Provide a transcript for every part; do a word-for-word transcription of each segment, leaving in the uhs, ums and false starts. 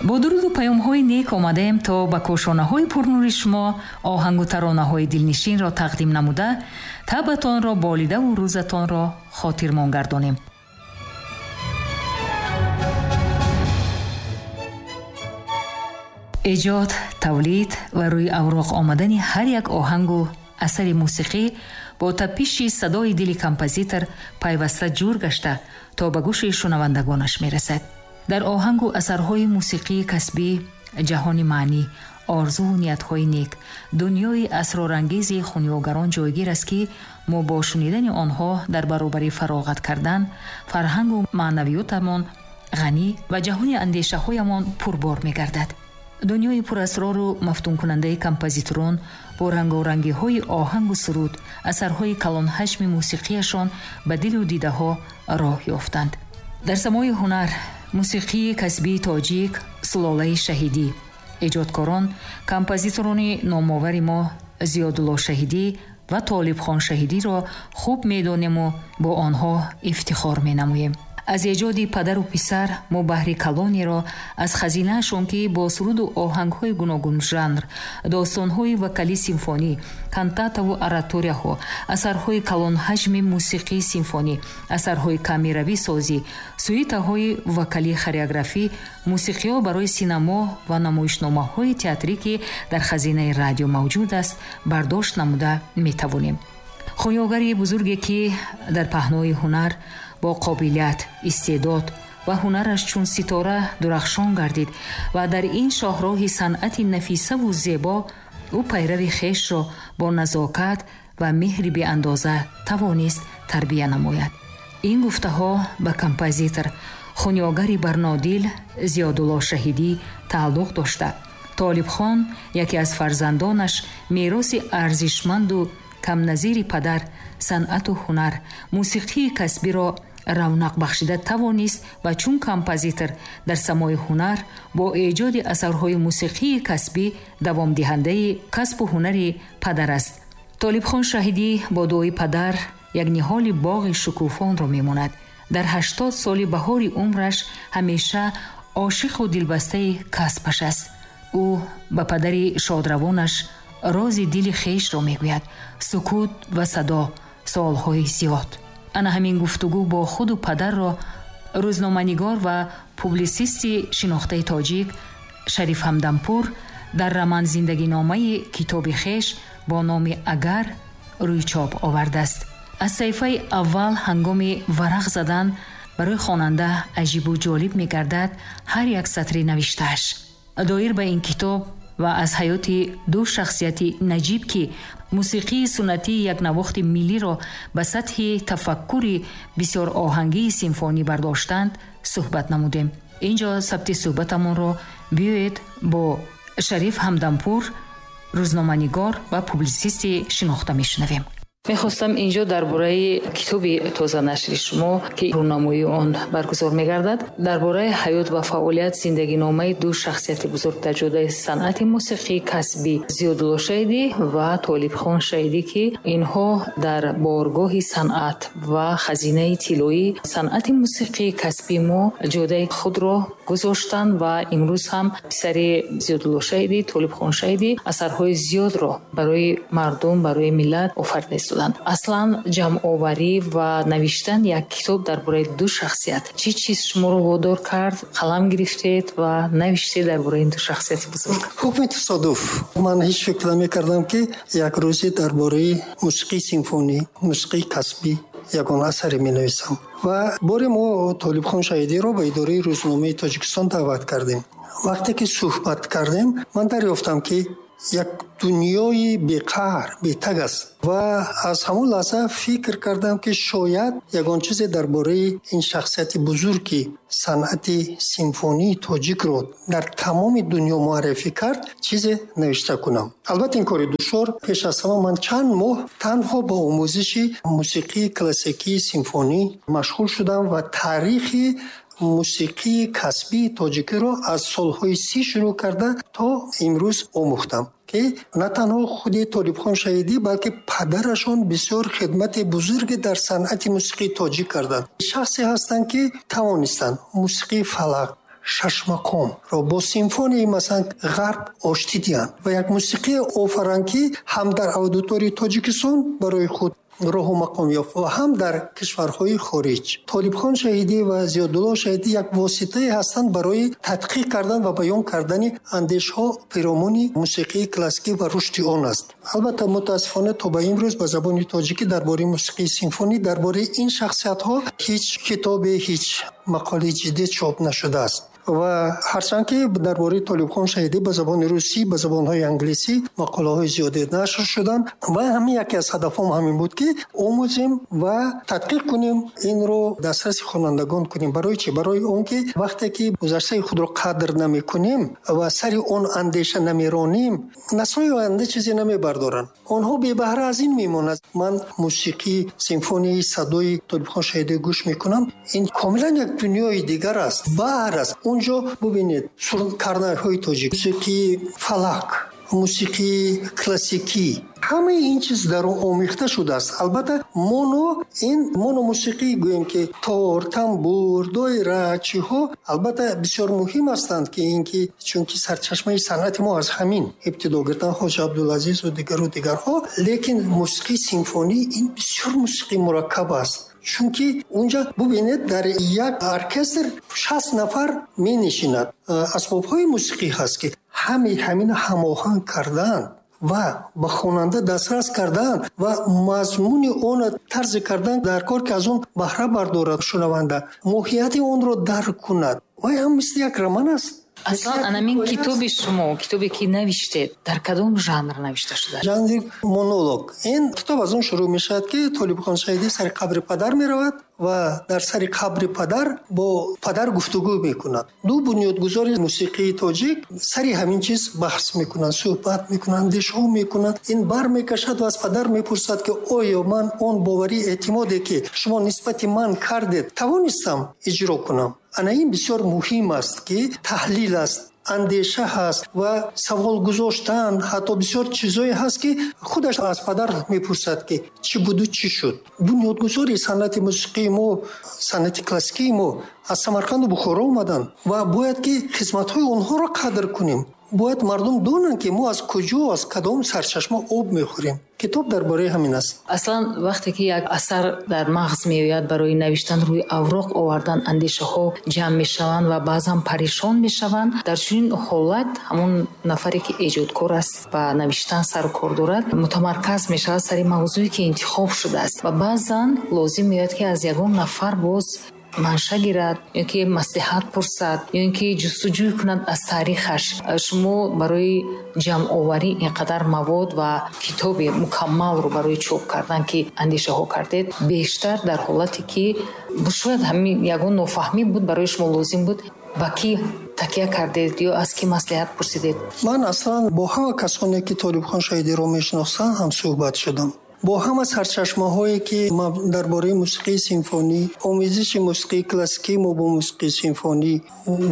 Бо дуруду паёмҳои нек омадаем, то ба кошонаҳои пурнури шумо оҳангу таронаҳои дилнишинро тақдим намуда, табатонро болидаву рӯзатонро хотирмон гардонем. Эҷод, тавлид ва рӯи авроқ омадани ҳар як оҳангу асари мусиқӣ бо тапиши садои дили композитор пайваста ҷур гашта то ба гӯши шунавандагонаш мерасад. Дар оҳангу асарҳои мусиқии касбӣ ҷаҳони маънӣ, орзуву ниятҳои нек, дунёи асрорангези хунёгарон ҷойгир аст, ки мо бо шунидани онҳо дар баробари фароғат кардан фарҳангу маънавиётамон ғанӣ ва ҷаҳони андешаҳоямон пурбор мегардад. Дунёи пурасрору мафтункунандаи композиторон бо рангорангиҳои оҳангу суруд, асарҳои калонҳаҷми мусиқияшон ба дилу дидаҳо роҳ ёфтанд. Дар самои ҳунар мусиқии касбии тоҷик сулолаи Шаҳидӣ, эҷодкорон композиторони номовари мо Зиёдулло Шаҳидӣ ва Толибхон Шаҳидиро хуб медонему бо онҳо ифтихор менамоем. Аз эҷоди падару писар мо баҳри калонеро аз хазинаашон, ки бо суруду оҳангҳои гуногунжанр, достонҳои вокалӣ симфонӣ, кантатаву ораторияҳо, асарҳои калонҳаҷми мусиқии симфонӣ, асарҳои камеравӣ созӣ, сюитаҳои вокалӣ хореографӣ, мусиқиҳо барои синамо ва намоишномаҳои театрӣ, ки дар хазинаи радио мавҷуд аст, бардошт намуда метавонем. Хунёгари бузурге, ки дар паҳнои ҳунар бо қобилият, истеъдод ва ҳунараш чун ситора дурахшон гардид ва дар ин шоҳроҳи санъати нафисаву зебо ӯ пайрави хешро бо назокат ва меҳри беандоза тавонист тарбия намояд. Ин гуфтаҳо ба композитор хунёгари барнодил Зиёдулло Шаҳидӣ тааллуқ дошта, Толибхон, яке аз фарзандонаш, мероси арзишманду камназири падар, санъату ҳунар, мусиқии касбиро равнақ бахшида тавонист ва чун композитор дар самои ҳунар бо эҷоди асарҳои мусиқии касбӣ давомдиҳандаи касбу ҳунари падар аст. Толибхон Шаҳидӣ бо дуои падар як ниҳоли боғи шукуфонро мемонад. Дар ҳаштод соли баҳори умраш ҳамеша ошиқу дилбастаи касбаш аст. Ӯ ба падари шодравонаш рози дили хешро мегӯяд. Сукут ва садо, суолҳои зиёд. Ана ҳамин гуфтугӯ бо худу падарро рӯзноманигор ва публисисти шинохтаи тоҷик Шариф Ҳамдампур дар роман-зиндагиномаи китоби хеш бо номи «Агар» рӯи чоп овардааст. Аз саҳифаи аввал ҳангоми варақ задан барои хонанда аҷибу ҷолиб мегардад ҳар як сатри навиштааш. Доир ба ин китоб ва аз ҳаёти ду шахсияти наҷиб, ки мусиқии суннатии якнавохти миллиро ба сатҳи тафаккури бисёроҳангии симфонӣ бардоштанд, суҳбат намудем. Ин ҷо сабти суҳбатамонро биёед бо Шариф Ҳамдампур, рӯзноманигор ва публисисти шинохта, мешунавем. Мехостам инҷо дар бораи китоби тозанашри шумо, ки рӯнамоии он баргузор мегардад, дар бораи ҳаёт ва фаъолият, зиндагиномаи ду шахсияти бузург дар ҷодаи санъати мусиқии касбӣ Зиёдулло Шаҳидӣ ва Толибхон Шаҳидӣ, ки инҳо дар боргоҳи санъат ва хазинаи тиллоии санъати мусиқии касбии мо ҷодаи худро гузоштанд ва имрӯз ҳам писари Зиёдулло Шаҳидӣ, Толибхон Шаҳидӣ, асарҳои зиёдро барои мардум, барои миллат офарида истоданд. Аслан ҷамъоварӣ ва навиштан як китоб дар бораи ду шахсият чӣ чиз шуморо водор кард, қалам гирифтед ва навиштед дар бораи ин ду шахсияти бузург? Ҳукми тасодуф. Ман ҳеҷ фикр намекардам, ки як рӯзе дар бораи мусиқии симфонӣ, мусиқии касбӣ ягон асаре менависам. Ва боре мо Толибхон Шаҳидиро ба идораи рӯзномаи Тоҷикистон даъват кардем. Вақте ки суҳбат кардем, ман дарёфтам, ки як дунёи беқаҳр, бетаг аст, ва аз ҳамон лаҳза фикр кардам, ки шояд ягон чизе дар бораи ин шахсияти бузург, ки санъати симфонии тоҷикро дар тамоми дунё муаррифӣ кард, чизе навишта кунам. Албатта, ин кори душвор. Пеш аз ҳама ман чанд моҳ танҳо ба омӯзиши мусиқии классикии симфонӣ машғул шудам ва таърихи мусиқии касбии тоҷикиро аз солҳои си шурӯъ карда то имрӯз омӯхтам, ки на танҳо худи Толибхон Шаҳидӣ, балки падарашон бисёр хидмати бузурге дар санъати мусиқии тоҷик карданд. Шахсе ҳастанд, ки тавонистанд мусиқии фалак, Шашмақомро бо симфонияи, масалан, ғарб оштӣ диҳанд ва як мусиқӣ офаранд, ки ҳам дар аудиторияи Тоҷикистон барои худ роҳу мақом ёфт ва ҳам дар кишварҳои хориҷ. Толибхон Шаҳидӣ ва Зиёдулло Шаҳидӣ як воситае ҳастанд барои тадқиқ кардан ва баён кардани андешҳо пиромуни мусиқии классикӣ ва рушди он аст. Албатта, мутаассифона, то ба имрӯз ба забони тоҷикӣ дар бораи мусиқии симфонӣ, дар бораи ин шахсиятҳо ҳеҷ китобе, ҳеҷ мақолаи ҷиддӣ чоп нашудааст. Ва ҳарчанд ки дар бораи Толибхон Шаҳидӣ ба забони русӣ, ба забонҳои англисӣ мақолаҳои зиёде нашр шуданд ва ҳамин яке аз ҳадафҳом ҳамин буд, ки омӯзем ва тадқиқ кунем, инро дастраси хонандагон кунем. Барои чӣ? Барои он ки вақте ки гузаштаи худро қадр намекунем ва сари он андеша намеронем, наслҳои оянда чизе намебардоранд, онҳо бебаҳра аз ин мемонанд. Ман мусиқии симфонияи садои Толибхон Шаҳидӣ гӯш мекунам, ин комилан як дунёи дигар аст, баҳр аст. Унҷо бубинед, карнайҳои тоҷик, мусиқии фалак, мусиқии классикӣ, ҳамаи ин чиз дар он омехта шудааст. Албатта, моно ин мономусиқӣ гӯем, ки тор, тамбур, доира, чиҳо албатта бисёр муҳим ҳастанд, ки ин ки чунки сарчашмаи санъати мо аз ҳамин ибтидо гирифтан, Хоҷа Абдулазизу дигару дигарҳо. Лекин мусиқии симфонӣ ин бисёр мусиқии мураккаб аст, чунки унҷа бубинед, дар як оркестр шаст нафар менишинад, асбобҳои мусиқӣ ҳаст, ки ҳамаи ҳамин ҳамоҳанг кардан ва ба хонанда дастрас кардан ва мазмуни онро тарзи кардан дар кор, ки аз он баҳра бардорад шунаванда, моҳияти онро дарк кунад. Вай ҳам мисли як роман аст. Аслан анамин китоби шумо, китобе ки навиштед, дар кадом жанр навишта шудааст? Жанри монолог. Ин китоб аз он шурӯъ мешавад, ки Толибхон Шаҳидӣ сари қабри падар меравад ва дар сари қабри падар бо падар гуфтугӯ мекунад. Ду бунёдгузори мусиқии тоҷик сари ҳамин чиз баҳс мекунанд, суҳбат мекунанд, андешҳо мекунанд. Ин бар мекашад ва аз падар мепурсад, ки оё ман он боварӣ, эътимоде, ки шумо нисбати ман кардед, тавонистам иҷро кунам? Ана ин бисёр муҳим аст, ки таҳлил аст, андеша ҳаст ва савол гузоштан, ҳатто бисёр чизое ҳаст, ки худаш аз падар мепурсад, ки чӣ буду, чӣ шуд. Бунёдгузори санъати мусиқии мо, санъати классикии мо аз Самарқанду Бухоро омаданд ва бояд ки хизматҳои онҳоро қадр кунем. Бояд мардум донанд, ки мо аз куҷо, аз кадом сарчашма об мехӯрем. Китоб дар бораи ҳамин аст. Аслан вақте ки як асар дар мағз меояд, барои навиштан, рӯи авроқ овардан, андешаҳо ҷамъ мешаванд ва баъзан парешон мешаванд. Дар чунин ҳолат ҳамон нафаре, ки эҷодкор аст, ба навиштан сару кор дорад, мутамарказ мешавад сари мавзӯе, ки интихоб шудааст, ва баъзан лозим меояд, ки аз ягон нафар боз манша гирад ё ки маслиҳат пурсад, ё ин ки ҷустуҷӯй кунад аз таърихаш. Шумо барои ҷамъоварӣ ин қадар мавод ва китоби мукаммалро барои чоп кардан, ки андешаҳо кардед, бештар дар ҳолате ки шояд ҳамин ягон нофаҳмӣ буд, барои шумо лозим буд, ба кӣ такя кардед ё аз кӣ маслиҳат пурсидед? Ман аслан бо ҳама касоне, ки Толибхон Шаҳидиро мешинохтам, ҳамсӯҳбат шудам. Бо ҳама сарчашмаҳое, ки дар бораи мусиқии симфонӣ, омезиши мусиқии классикии мо бо мусиқии симфонӣ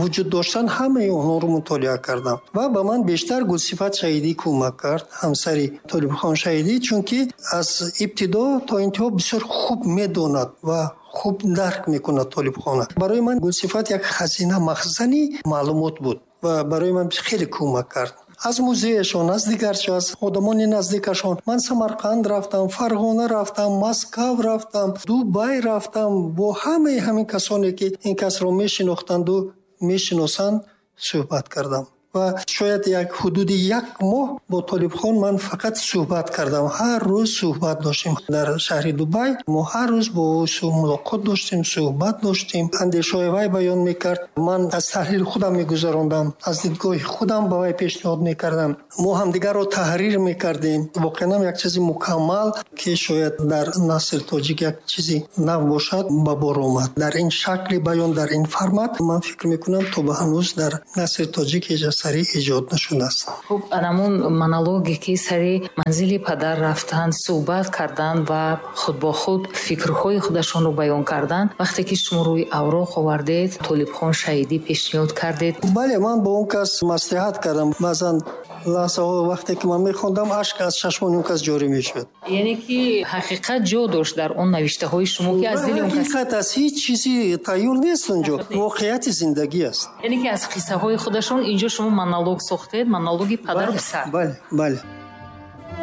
вуҷуд доштанд, ҳамаи онҳоро мутолиа кардам. Ва ба ман бештар Гулсифат Шаҳидӣ кӯмак кард, ҳамсари Толибхон Шаҳидӣ, чунки аз ибтидо то интиҳо бисёр хуб медонад ва хуб дарк мекунад Толибхона. Барои ман Гулсифат як хазина, махзани маълумот буд ва барои ман хеле кӯмак кард. Аз музеяшон, аз дигар чиз, аз одамони наздикашон. Ман Самарқанд рафтам, Фарғона рафтам, Москав рафтам, Дубай рафтам. Бо ҳамаи ҳамин касоне, ки ин касро мешинохтанду мешиносанд, суҳбат кардам. Ва шояд як ҳудуди як моҳ бо Толибхон ман фақат суҳбат кардам. Ҳар рӯз суҳбат доштем дар шаҳри Дубай. Мо ҳар рӯз бо ӯ мулоқот доштем, суҳбат доштем. Андешаҳои вай баён мекард. Ман аз таҳлили худам мегузарондам, аз дидгоҳи худам ба вай пешниҳод мекардам. Мо ҳамдигарро таҳрир мекардем. Воқеан ҳам як чизи мукаммал, ки шояд дар насри тоҷик як чизи нав бошад, ба бор омад. Дар ин шакли баён, дар ин формат, ман фикр мекунам, то ба ҳанӯз дар насри тоҷик ҳеҷ асаре эҷод нашудааст. Хуб, анамун монологе, ки сари манзили падар рафтанд, суҳбат карданд ва худ бо худ фикрҳои худашонро баён карданд, вақте ки шумо рӯи авроқ овардед, Толибхон Шаҳидӣ пешниҳод кардед. Бале, ман бо он кас маслиҳат кардам. Баъзан Лаҳзаҳо вақте ки ман мехондам, ашк аз чашмони он кас ҷорӣ мешуд. Яъне ки ҳақиқат ҷо дошт дар он навиштаҳои шумо, ки аз дили он кас. Ҳақиқат аст, ҳеҷ чизи тайёр нест онҷо, воқеияти зиндагӣ аст. Яъне ки аз қиссаҳои худашон инҷо шумо монолог сохтед, монологи падару писар. Бале, бале.